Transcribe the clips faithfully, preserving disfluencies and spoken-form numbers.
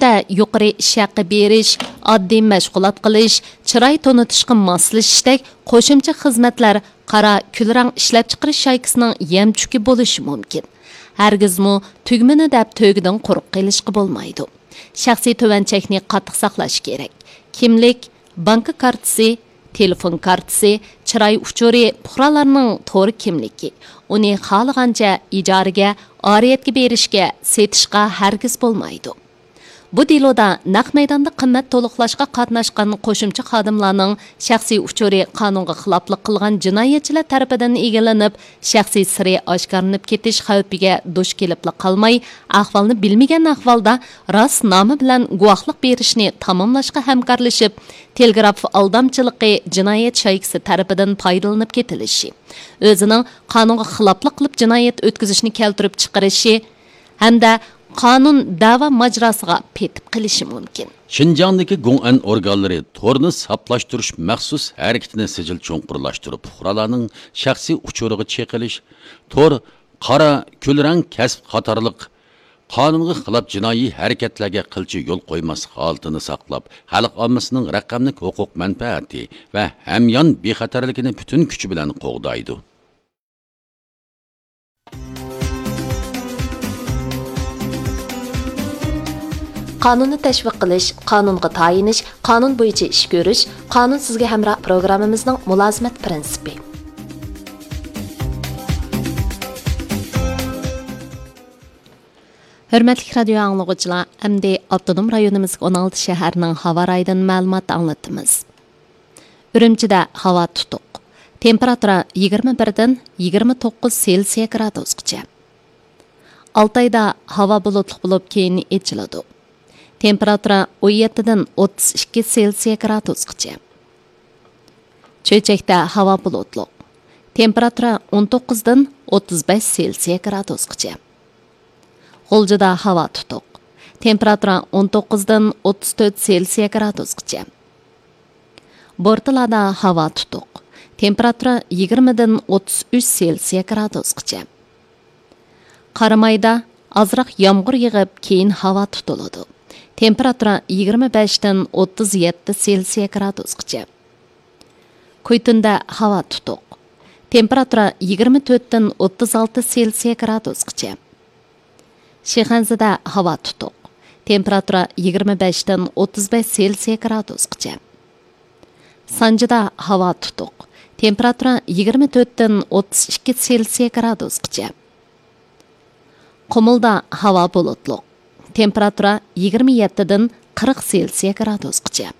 ئىشتە يۇقىرى ئىش ھەققى بېرىش، ئاددىي مەشغۇلات قىلىش، چىراي تونۇتۇشقا ماسلىشىشتەك قوشۇمچە خىزمەتلەر قارا كۈلرەڭ ئىشلەپچىقىرىش شايكىسىنىڭ يەم چۈكى بولۇشى مۇمكىن. ھەرگىزمۇ تۈگمىنى دەپ تۆگىدىن قۇرۇق قېلىشقا بولمايدۇ. شەخسىي تۆۋەن چەكنى قاتتىق ساقلاش كېرەك. كىملىك، بانكا كارتىسى، تېلېفون كارتىسى، چىراي ئۇچۇرى، پۇقرالارنىڭ تور كىملىكى. ئۇنى خالىغانچە ئىجارىگە، ئارىيەتكە بېرىشكە، سېتىشقا ھەرگىز بولمايدۇ. بۇ دېلودا نەق مەيداندا قىممەت تولۇقلاشقا قاتناشقان قوشۇمچە خادىملارنىڭ شەخسىي ئۇچۇرى قانۇنغا خىلاپلىق قىلغان جىنايەتچىلەر تەرىپىدىن ئىگىلىنىپ، شەخسىي سىرى ئاشكارىلىنىپ كېتىش خەۋپىگە دۇچ كېلىپلا قالماي، ئەھۋالنى بىلمىگەن ئەھۋالدا راست نامى بىلەن گۇۋاھلىق بېرىشنى تاماملاشقا ھەمكارلىشىپ، تېلېگراف ئالدامچىلىقى جىنايەت شايكىسى تەرىپىدىن پايدىلىنىپ كېتىلىشى، ئۆزىنىڭ قانۇنغا خىلاپلىق قىلىپ جىنايەت ئۆتكۈزۈشنى كەلتۈرۈپ چىقىرىشى ھەمدە قانۇن دەۋا ماجىراسىغا پېتىپ قېلىشى مۇمكىن. شىنجاڭدىكى گوڭئەن ئورگانلىرى تورنى ساپلاشتۇرۇش مەخسۇس ھەرىكىتىنى سىجىل چوڭقۇرلاشتۇرۇپ، پۇقرالارنىڭ شەخسىي ئۇچۇرىغا چېقىلىش، تور، قارا، كۈلرەڭ كەسىپ قاتارلىق قانۇنغا خىلاپ جىنايى ھەرىكەتلەرگە قىلچە يول قويماسلىق ھالىتىنى ساقلاپ، خەلق ئاممىسىنىڭ رەقەملىك ھوقۇق مەنپەئەتى ۋە ھەميان بىخەتەرلىكىنى پۈتۈن كۈچى بىلەن قوغدايدۇ. قانۇننى تەشۋىق قىلىش، قانۇنغا تايىنىش، قانۇن بويىچە ئىش كۆرۈش، قانۇن سىزگە ھەمراھ پروگراممىمىزنىڭ مۇلازىمەت پىرىنسىپى. ھۆرمەتلىك رادىيو ئاڭلىغۇچىلار، ئەمدى ئاپتونوم رايونىمىزدىكى ئون ئالتە شەھەرنىڭ ھاۋا رايىدىن مەلۇمات ئاڭلىتىمىز. ئۈرۈمچىدە ھاۋا تۇتۇق. تېمپېراتۇرا يىگىرمە بىردىن يىگىرمە توققۇز سېلسىيە گرادۇسقىچە. ئالتايدا ھاۋا بۇلۇتلۇق بولۇپ، كېيىن ئېچىلىدۇ. تېمپېراتۇرا ئون يەتتىدىن ئوتتۇز ئىككى سېلسىيە گرادۇسقىچە. چۆچەكتە ھاۋا بۇلۇتلۇق. تېمپېراتۇرا ئون توققۇزدىن ئوتتۇز بەش سېلسىيە گرادۇسقىچە. غۇلجىدا ھاۋا تۇتۇق. تېمپېراتۇرا ئون توققۇزدىن ئوتتۇز تۆت سېلسىيە گرادۇسقىچە. بورتالادا ھاۋا تۇتۇق. تېمپېراتۇرا يىگىرمىدىن ئوتتۇز ئۈچ سېلسىيە گرادۇسقىچە. قارامايدا ئازراق يامغۇر يېغىپ، كېيىن ھاۋا تۇتۇلىدۇ. تېمپېراتۇرا يىگىرمە بەشتىن ئوتتۇز يەتتە سېلسىيە گرادۇسقىچە. كۇيتۇندا ھاۋا تۇتۇق. تېمپېراتۇرا يىگىرمە تۆتتىن ئوتتۇز ئالتە سېلسىيە گرادۇسقىچە. شىخەنزىدە ھاۋا تۇتۇق. تېمپېراتۇرا يىگىرمە بەشتىن ئوتتۇز بەش سېلسىيە گرادۇسقىچە. سانجىدا ھاۋا تۇتۇق. تېمپېراتۇرا يىگىرمە تۆتتىن ئوتتۇز ئىككى سېلسىيە گرادۇسقىچە. قۇمۇلدا ھاۋا بۇلۇتلۇق. تېمپېراتۇرا يىگىرمە يەتتىدىن قىرىق سېلسىيە گرادۇسقىچە.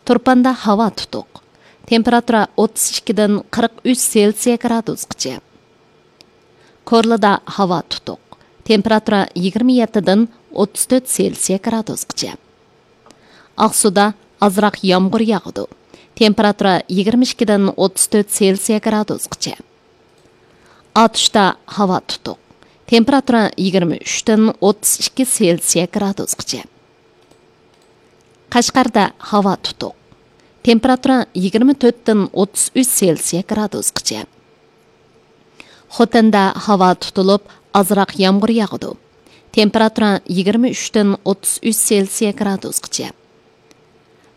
تۇرپاندا ھاۋا تۇتۇق. تېمپېراتۇرا ئوتتۇز ئىككىدىن قىرىق ئۈچ سېلسىيە گرادۇسقىچە. كورلىدا ھاۋا تۇتۇق. تېمپېراتۇرا يىگىرمە يەتتىدىن ئوتتۇز تۆت سېلسىيە گرادۇسقىچە. ئاقسۇدا ئازراق يامغۇر ياغىدۇ. تېمپېراتۇرا يىگىرمە ئىككىدىن ئوتتۇز تۆت سېلسىيە گرادۇسقىچە. ئاتۇشتا ھاۋا تۇتۇق. تېمپېراتۇرا يىگىرمە ئۈچتىن ئوتتۇز ئىككى سېلسىيە گرادۇسقىچە. قەشقەردە ھاۋا تۇتۇق. تېمپېراتۇرا يىگىرمە تۆتتىن ئوتتۇز ئۈچ سېلسىيە گرادۇسقىچە. خوتەندە ھاۋا تۇتۇلۇپ، ئازراق يامغۇر ياغىدۇ. تېمپېراتۇرا يىگىرمە ئۈچتىن ئوتتۇز ئۈچ سېلسىيە گرادۇسقىچە.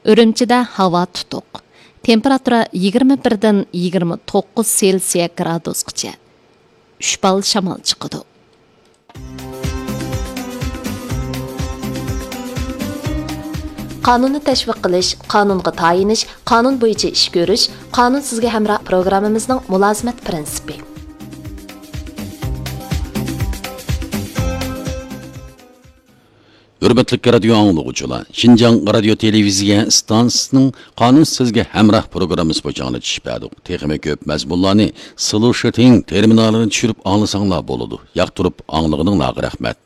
ئۈرۈمچىدە ھاۋا تۇتۇق. تېمپېراتۇرا يىگىرمە بىردىن يىگىرمە توققۇز سېلسىيە گرادۇسقىچە. ئۈچ بال شامال چىقىدۇ. قانۇننى تەشۋىق قىلىش، قانۇنغا تايىنىش، قانۇن بويىچە ئىش كۆرۈش، قانۇن سىزگە ھەمراھ پروگراممىمىزنىڭ مۇلازىمەت پىرىنسىپى. ھۆرمەتلىك رادىيو ئاڭلىغۇچىلار، شىنجاڭ رادىيو تېلېۋىزىيە ئىستانسىسىنىڭ قانۇن سىزگە ھەمراھ پروگراممىسى بويىچە ئاڭلىتىش بەردۇق. تېخىمۇ كۆپ مەزمۇنلارنى سلۇشىتىڭ تېرمىنالىنى چۈشۈرۈپ ئاڭلىساڭلار بولىدۇ. ياقتۇرۇپ ئاڭلىغىنىڭلارغا رەھمەت.